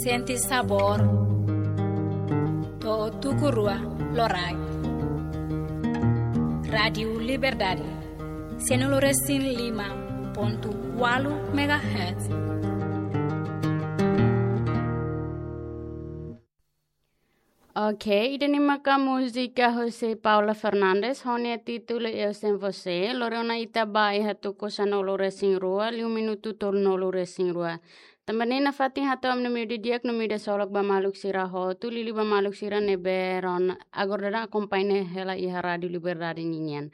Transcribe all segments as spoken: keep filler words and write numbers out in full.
Sente sabór. To'o tuku rua loraik. Rádiu Liberdade. Sianulu resin lima pontu ualu megahertz. Ok, ida-ne'e maka múzika husi Paula Fernandes, ho nia títulu Eu Sem Você, lori ona ita ba iha tuku sanulu resin rua, liu minutu tolunulu resin rua. Tanba ne'e nafatin hato'o ami-nia mídia di'ak no mídia solok ba maluk sira hotu, liuliu ba maluk sira ne'ebé rona agora daudaun akompaña hela iha Rádiu Liberdade ninian.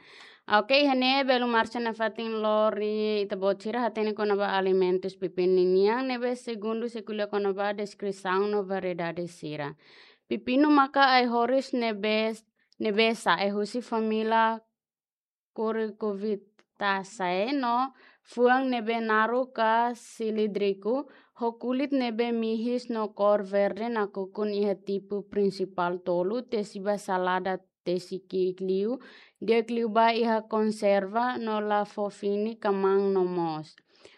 Ok, iha ne'e belun Márcia nafatin lori ita-boot sira hatene kona-ba alimentus pepinu ninian, ne'ebé segundu sei ko'alia kona-ba deskrisaun no variedade sira. Pepinu maka ai-horis ne'ebé, ne'ebé sa'e husi família Cucurbitaceae no fuan ne'ebé naruk ka silíndriku, ho kulit ne'ebé mihis no kór verde nakukun iha tipu prinsipál tolu, tesi ba salada, tesi ki'ik liu, di'ak liu ba iha konserva no la fó fini ka maun no moos.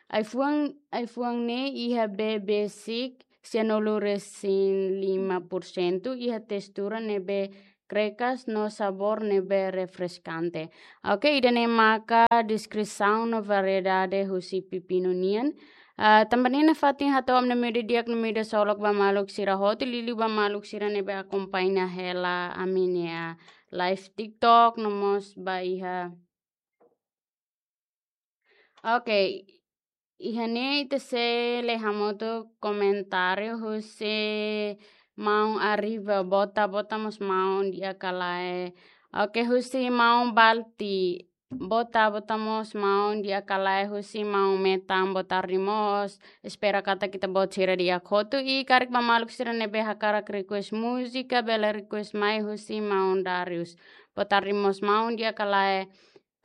Ai-fuan, ai-fuan ne'e iha bee besik sianulu resin lima por sentu, iha testura ne'ebé krekas no sabór ne'ebé refreskante. Ok, ida-ne'e maka deskrisaun no variedade husi pepinu nian. Ah, tanba ne'e nafatin hato'o ami-nia mídia di'ak no mídia solok ba maluk sira hotu, liuliu ba maluk sira ne'ebé akompaña hela ami-nia live TikTok no mós ba iha. Ok, iha ne'e ita sei lee hamutuk komentáriu husi maun Arriva, boot ita, boot ita mós maun di'ak ka lae. Ok, husi maun Balti, boot ita, boot ita mós maun di'ak ka lae, husi maun Metan, boa tarde mós. Espera katak ita-boot sira di'ak hotu i karik ba maluk sira ne'ebé hakarak request múzika, bele request mai husi maun Darius. Boa tarde mós maun di'ak ka lae.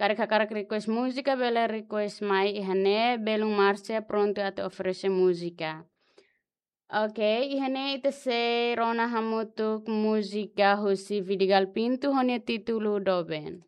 Karik hakarak request múzika, bele request mai iha ne'e, belun Márcia prontu atu oferese múzika. Ok, iha ne'e ita sei rona hamutuk múzika husi Vidigal Pinto, ho nia títulu Doben.